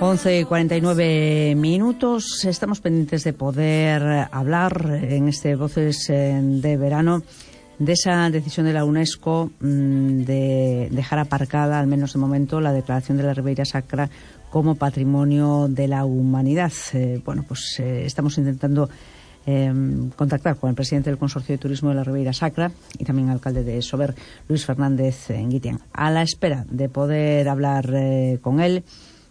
11:49. Estamos pendientes de poder hablar en este Voces de Verano de esa decisión de la UNESCO de dejar aparcada, al menos de momento, la declaración de la Ribeira Sacra como Patrimonio de la Humanidad. Estamos intentando contactar con el presidente del Consorcio de Turismo de la Ribeira Sacra y también alcalde de Sober, Luis Fernández Nguitian. A la espera de poder hablar con él,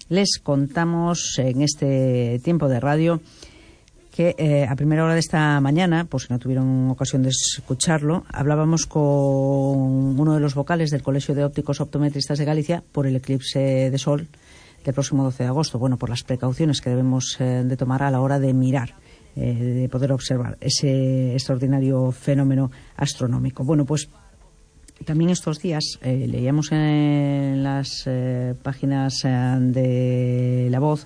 les contamos en este tiempo de radio que a primera hora de esta mañana, pues si no tuvieron ocasión de escucharlo, hablábamos con uno de los vocales del Colegio de Ópticos Optometristas de Galicia por el eclipse de sol del próximo 12 de agosto. Bueno, por las precauciones que debemos de tomar a la hora de mirar, de poder observar ese extraordinario fenómeno astronómico. Bueno, pues también estos días leíamos en las páginas de La Voz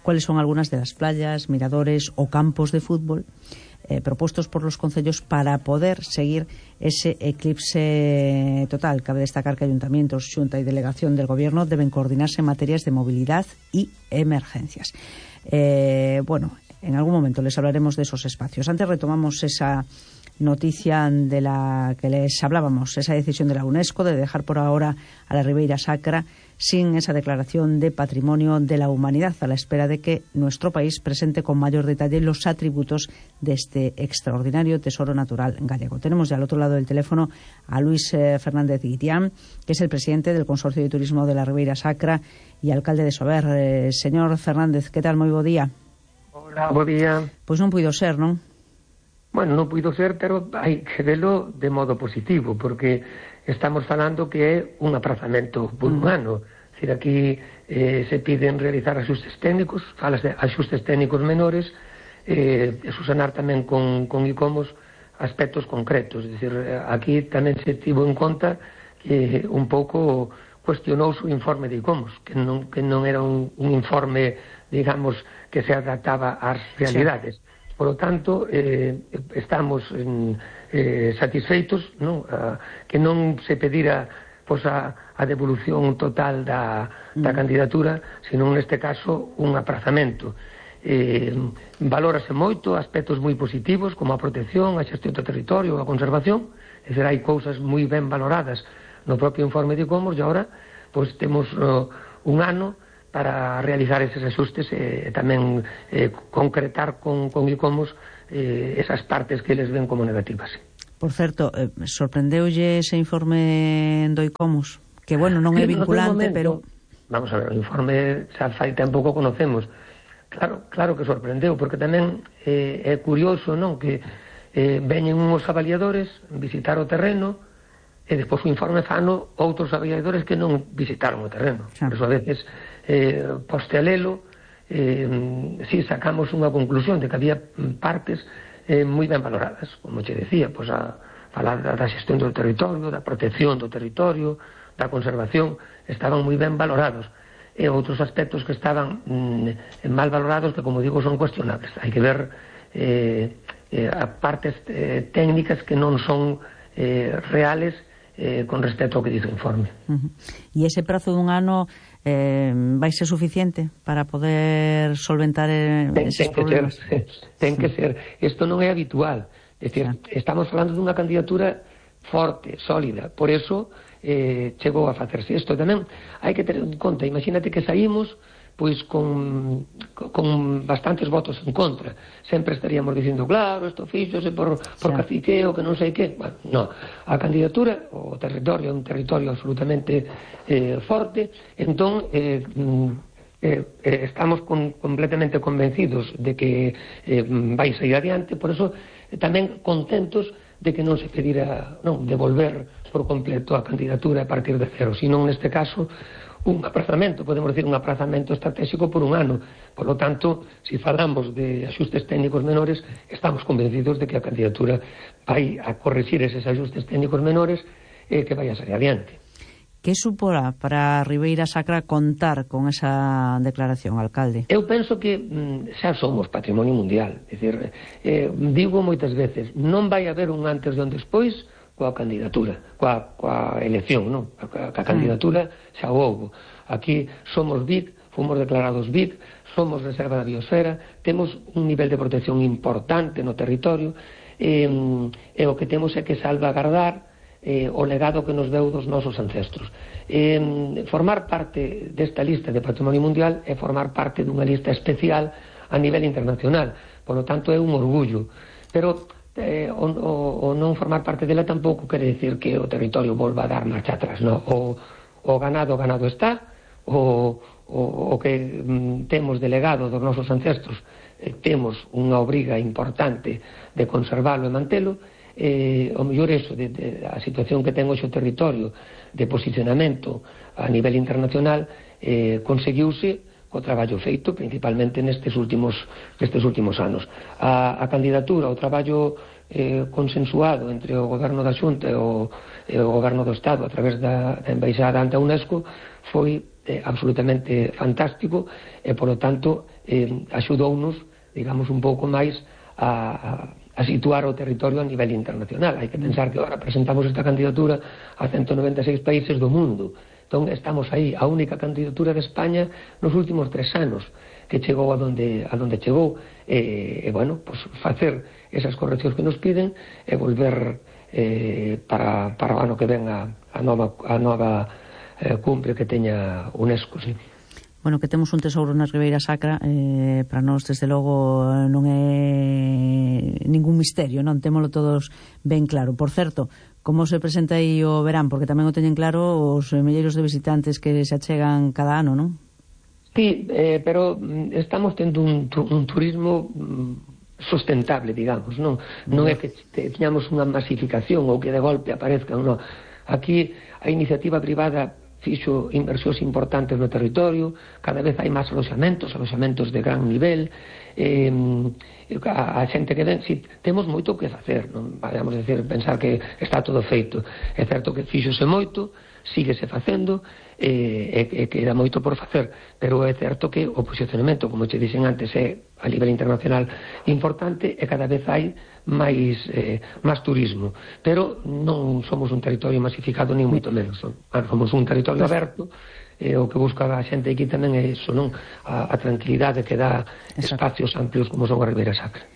cuáles son algunas de las playas, miradores o campos de fútbol propuestos por los concellos para poder seguir ese eclipse total. Cabe destacar que ayuntamientos, xunta y delegación del Gobierno deben coordinarse en materias de movilidad y emergencias. En algún momento les hablaremos de esos espacios. Antes retomamos esa noticia de la que les hablábamos, esa decisión de la UNESCO de dejar por ahora a la Ribeira Sacra sin esa declaración de Patrimonio de la Humanidad, a la espera de que nuestro país presente con mayor detalle los atributos de este extraordinario tesoro natural gallego. Tenemos ya al otro lado del teléfono a Luis Fernández Nguitian, que es el presidente del Consorcio de Turismo de la Ribeira Sacra y alcalde de Sober. Señor Fernández, que tal? Moi bo día. Hola, bo día. Pois non puido ser, non? Bueno, non puido ser, pero hai que velo de modo positivo, porque estamos falando que é un aprazamento por un ano. Es decir, aquí se piden realizar axustes técnicos, falas de axustes técnicos menores, e susanar tamén con ICOMOS aspectos concretos. Es decir, aquí tamén se tivo en conta que un pouco cuestionou o informe de ICOMOS, que non era un informe, digamos, que se adaptaba ás realidades. Sí. Por lo tanto, estamos satisfeitos, non? Que non se pedira a devolución total da candidatura, sino neste caso un aprazamento. Valórase moito aspectos moi positivos, como a protección, a xestión do territorio, a conservación. É dicir, hai cousas moi ben valoradas no propio informe de ICOMOS, e agora temos un ano para realizar eses axustes e tamén concretar con ICOMOS esas partes que eles ven como negativas. Por certo, sorprendeulle ese informe do ICOMOS? Que, bueno, non é vinculante, pero... Vamos a ver, o informe xa fai tempo que o conocemos. Claro que sorprendeu, porque tamén é curioso, non, que veñen uns avaliadores visitar o terreno e despois o informe fano outros avaliadores que non visitaron o terreno. Por eso a veces poste a lelo, si sacamos unha conclusión de que había partes moi ben valoradas, como che decía, a falar da xestión do territorio, da protección do territorio, da conservación, estaban moi ben valorados, e outros aspectos que estaban mal valorados, que, como digo, son cuestionables. Hai que ver partes técnicas que non son reales con respecto ao que dice o informe. E ese prazo dun ano vai ser suficiente para poder solventar eses problemas? Ten que ser. Isto non é habitual. É dicir, estamos falando dunha candidatura forte, sólida. Por eso chegou a facerse isto. Tamén hai que ter en conta, imagínate que saímos con bastantes votos en contra. Sempre estaríamos dicindo, claro, isto fíxose por caciqueo, que non sei que. Bueno, no. A candidatura, o territorio é un territorio absolutamente forte, entón estamos completamente convencidos de que vai sair adiante, por eso tamén contentos de que non se pedira devolver por completo a candidatura a partir de cero, sino neste caso un aprazamento, podemos decir un aprazamento estratégico por un ano. Por lo tanto, si falamos de axustes técnicos menores, estamos convencidos de que a candidatura vai a corregir eses axustes técnicos menores e que vai a sair adiante. Que suporá para a Ribeira Sacra contar con esa declaración, alcalde? Eu penso que xa somos patrimonio mundial. É dicir, digo moitas veces, non vai haber un antes e un despois coa candidatura, coa elección, non? A candidatura xa houbo. Aquí somos BIC, fomos declarados BIC, somos reserva da biosfera, temos un nivel de protección importante no territorio, e o que temos é que salvagardar o legado que nos deu dos nosos ancestros. Formar parte desta lista de Patrimonio Mundial é formar parte dunha lista especial a nivel internacional, por lo tanto é un orgullo, pero o non formar parte dela tampouco quere decir que o territorio volva a dar marcha atrás, no? O ganado está, o que temos de legado dos nosos ancestros, temos unha obriga importante de conservalo e mantelo. O mellor eso, a situación que ten hoxe o territorio de posicionamento a nivel internacional, conseguiuse o traballo feito principalmente nestes últimos anos. A candidatura, o traballo consensuado entre o Goberno da Xunta e o Goberno do Estado a través da Embaixada ante a UNESCO foi absolutamente fantástico e, polo tanto, axudounos, digamos, un pouco máis a situar o territorio a nivel internacional. Hai que pensar que agora presentamos esta candidatura a 196 países do mundo. Entón, estamos aí, a única candidatura de España nos últimos 3 anos que chegou a donde chegou, bueno, pues facer esas correccións que nos piden e volver para o ano que ven a nova cumbre que teña UNESCO, sí. Bueno, que temos un tesouro na Ribeira Sacra, para nós, desde logo, non é ningún misterio, non? Témolo todos ben claro. Por certo, como se presenta aí o verán? Porque tamén o teñen claro os milleiros de visitantes que se achegan cada ano, non? Sí, pero estamos tendo un turismo sustentable, digamos, non? Non é que teñamos unha masificación ou que de golpe aparezcan, non. Aquí a iniciativa privada fixo inversións importantes no territorio, cada vez hai máis aloxamentos de gran nivel, a xente que ven, si, temos moito que facer, non vamos a decir, pensar que está todo feito. É certo que fíxose moito, síguese facendo, e queda moito por facer, pero é certo que o posicionamento, como che dixen antes, é a nivel internacional importante e cada vez hai máis turismo, pero non somos un territorio masificado ni moito menos, somos un territorio aberto, o que busca a xente aquí tamén é iso, non? A tranquilidade que dá espacios amplios como son a Ribeira Sacra.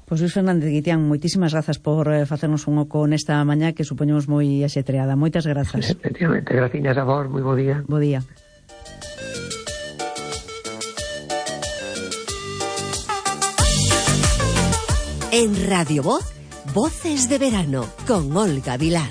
Pois Luís Fernández Guitián, moitísimas grazas por facernos un oco nesta mañá que supoñemos moi axetreada. Moitas grazas. Efectivamente, graciñas a vos, moi bo día. Bo día. En Radio Voz, Voces de Verano, con Olga Vilar.